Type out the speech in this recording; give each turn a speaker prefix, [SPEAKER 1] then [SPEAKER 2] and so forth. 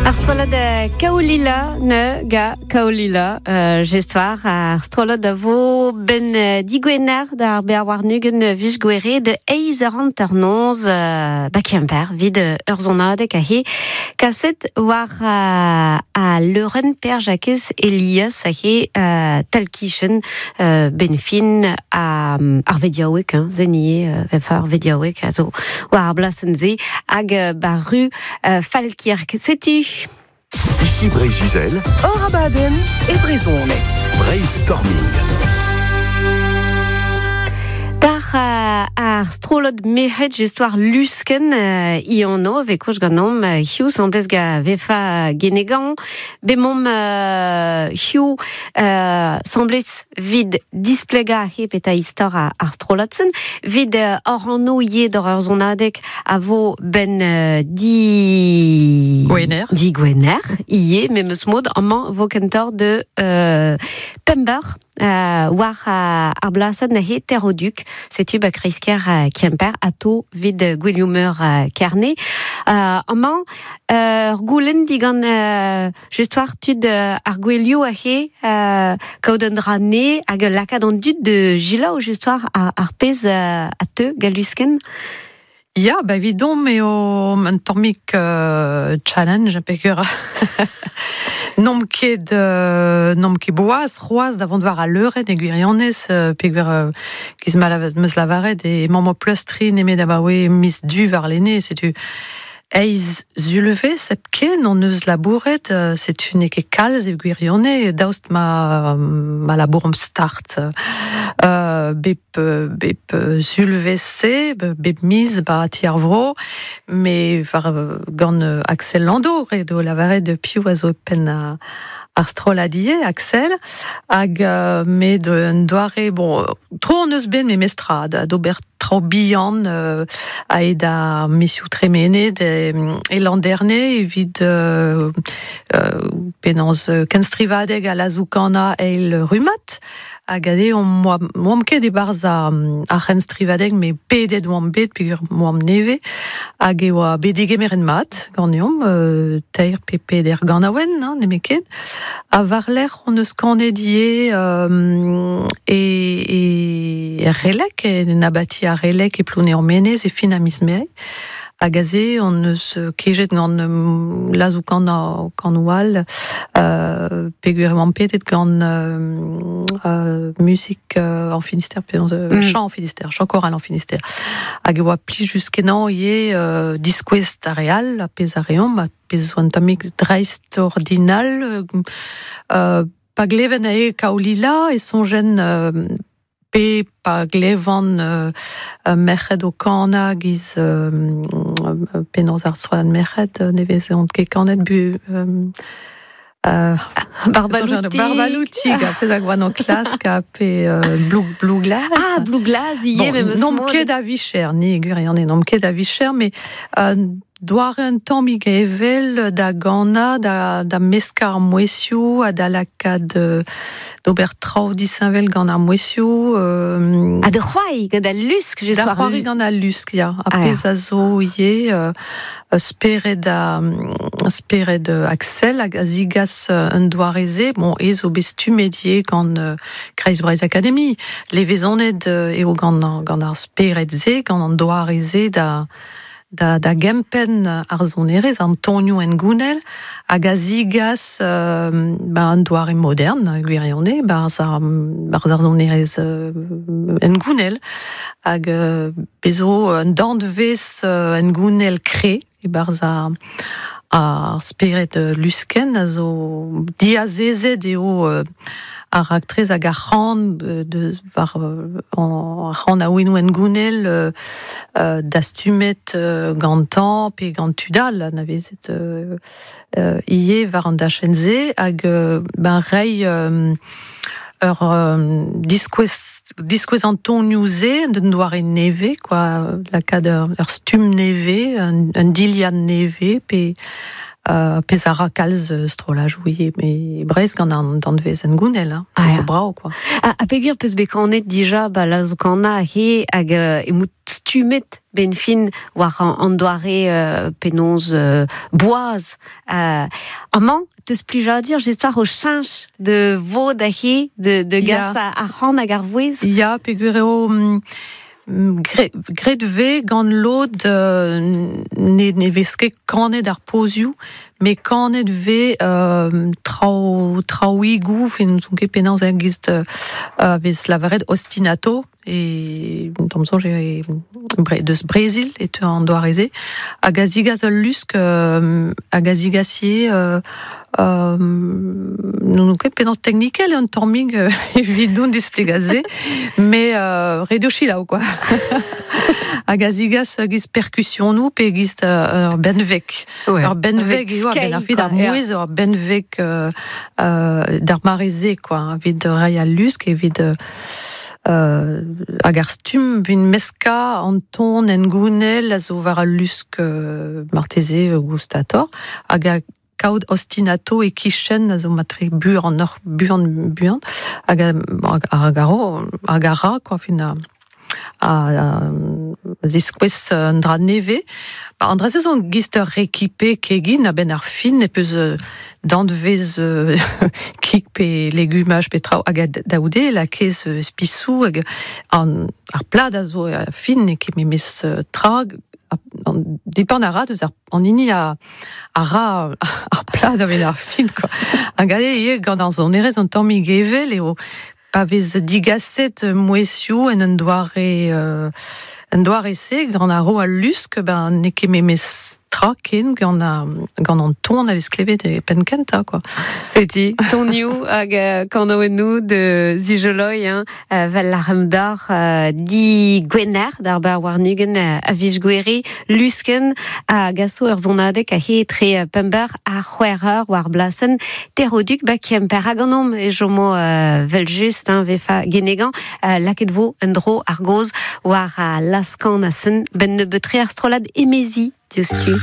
[SPEAKER 1] Ar strollad Kaolila ne ga Kaolila jestoar ar strollad a vo ben digwener d'ar bear warnugen vus gwere de eiz eur hanternoz ba Kemper vid ur zonadeg a he kaset war a leurenn Per Jakez Elias a he talkichen ben fin a ar vediaouek hein, zenie vefa ar vediaouek a zo war ar blasen ze hag ba ru Falkirk. Setu.
[SPEAKER 2] Ici Breizh-Izel.
[SPEAKER 3] Hor abadenn e brezhoneg.
[SPEAKER 2] Breizhstorming.
[SPEAKER 1] Dar ar strollad merc'hed just war luskenn Iano vez koch ganeomp hiziv semblez ga vefa Genegan. Bemomp hiziv semblez vid displegañ he peta istor ar strollad-sen, vid hor anv ivez d'hor ur sonadeg a vo ben di...
[SPEAKER 4] Gwener.
[SPEAKER 1] Di Gwener, ivez, memes mod, amañ vo kentoc'h de Pember war ar blasenn neuze Terroduc. Setu ba kreiz-kêr Kemper, ato vid gouelioù-meur Kerne. Amañ, ur goulenn digant just war tud ar gouelioù aze kaout un dra ne hag lakaat an dud de jilaou just war ar pezh a teu galluskenn.
[SPEAKER 4] Ya, ba evidomp eo un tammig challenge peogwir n'omp ket n'omp ket boaz c'hoazh da vont war al leurenn e gwirionez peogwir giz ma 'meus lavaret emaomp o pleustriñ nemet abaoe miz Du warlene, setu eizh sulvezh hepken hon eus labouret, setu n'eo ket kalz e gwirionez daoust ma ma labouromp start. Bep bep sulvezh-se, bep miz ba ti ar vro, me war gant Axel Lando, ret eo lavaret piv a zo e penn ar strollad ivez, Axel, hag met un doare, bon, tro hon eus bet memestra d'ober traoù bihan aet ar mizioù tremenet e Landerne evit penaos kenstrivadeg ha lazoù-kanañ eil rummad. Hag aze oamp ket e-barzh ar c'henstrivadeg, met pedet oamp bet peogwir oamp nevez. Hag e oa bet degemeret mat ganeomp, teir pe peder ganaouenn, hein, nemetken. Ha war-lerc'h hon eus kanet ivez e, e Relek, en abati ar Relek e Plouneour-Menez e fin a miz Mae. Hag aze hon eus kejet gant lazoù-kanañ kanoù all, peogwir e oamp pedet gant muzik en Finistère, pe chant en Finistère, chant choral en Finistère. Hag e oa plijus-kenañ ivez diskouez d'ar re all ar pezh a reomp, ar pezh zo un tammig dreist-ordinal. Pa gleven eo Kaolila e soñjen pe pa glevan merc'hed o kanañ giz penaos ar strollad merc'hed ne vezont ket kanet bu
[SPEAKER 1] Barbaloutig.
[SPEAKER 4] Barbaloutig, ar pezh a oan o klask, ha pe Blue Glass.
[SPEAKER 1] Ah, Blue Glass ivez, memes
[SPEAKER 4] N'omp ket a vicher, ni, gwirion, n'omp ket a vicher, mais doare un tammig evel da ganañ, da meskañ ar mouezhioù ha da lakaat d'ober traoù disheñvel gant ar mouezhioù.
[SPEAKER 1] Ha da c'hoari gant al lusk, je
[SPEAKER 4] Da c'hoari gant al lusk, ya. Ar pezh a zo ivez spered a spered Axel hag a zigas un doare-se. Bon, ez zo bet stummet ivez gant Kreiz Breizh Academy. Levezonet eo gant, gant ar spered-se, gant an doare-se da da gempenn ar sonerezh, an tonioù hengounel, hag a zigas ba, un doare modern, gwirionez, barzh ar, barzh ar sonerezh hengounel, hag bez zo un danvez hengounel kre e-barzh ar, ar spered luskenn a zo diazezet eo ar raktres hag ar c'han deus war ar c'han a-ouennoù hengounel dastumet gantañ pe gant tud all anavezet ivez war an dachenn-se hag ben reiñ ur diskouez diskouez an tonioù-se d'un doare nevez quoi lakaat ur stumm nevez un dilhad nevez pe Pez a ra kalz strolaj ouie, me brez gant an danvez en gounel, hein. Ah, zo brao, quoi.
[SPEAKER 1] A pegur peus bet kanet dija, ba la zo kana he hag emout stumet ben fin war an doare penaos boaz. Amañ, teus plijadur, j'espère o cheñch de vod a he, de gas a c'han hag ar vouez.
[SPEAKER 4] Ya, pegur eo... Gret ve gant lod ne vez ket kanet ar pozioù, me kanet ve traouigoù, fin n'on ket penaos a giz vez lavaret ostinato, e d'am soñj e deus Brésil e teu an doareze, hag a zigaz ul lusk, hag a zigasie non ket penaos teknikel un tammig evit don displegaze, me redio chilaou, quoi. Hag a zigaz giz percussionou pe giz ur benveg. Ur benveg eo, ben ar fid ar mouez, ur benveg d'ar mareze, quoi, evit rai al lusk, evit hag ar stumm vin meska an ton en gounel a zo war al lusk marteze gustator, hag a kaout ostinato e kichen a zo matre buan buan hag hag a ra, quoi, fin a ziskouez an dra neve. Ba, an dra se zo giz ur rekipe kegin a ben ar fin e peus danvez kig pe legumaj pe traoù hag a daoude la kez spisou hag an ar plad a zo a fin e ket memes tra an depend a ra deus ar an hini a ra ar plad a ven ar fin, quoi. Hag eo eo gant an zonerez an tammig evel eo pa vez digaset mouezioù en un doare se gant ar ro al lusk, ben n'eo ket memes tra ken gant an ton a vez klevet e penn kentañ, quoi.
[SPEAKER 1] Seti, tonioù hag kanoennoù de Zijoloi, hein, vel ar d'ar di gwener d'ar bar warnugen a vij gwere lusken a gaso ur zonadek a he tre pember a c'hwec'h war blasen teroduk ba kemper hag an om e jomo vel just, hein, vefa genegan laket vo un dro ar goz war a laskan a sen ben ne betre ar strolad emezi diouzhtu.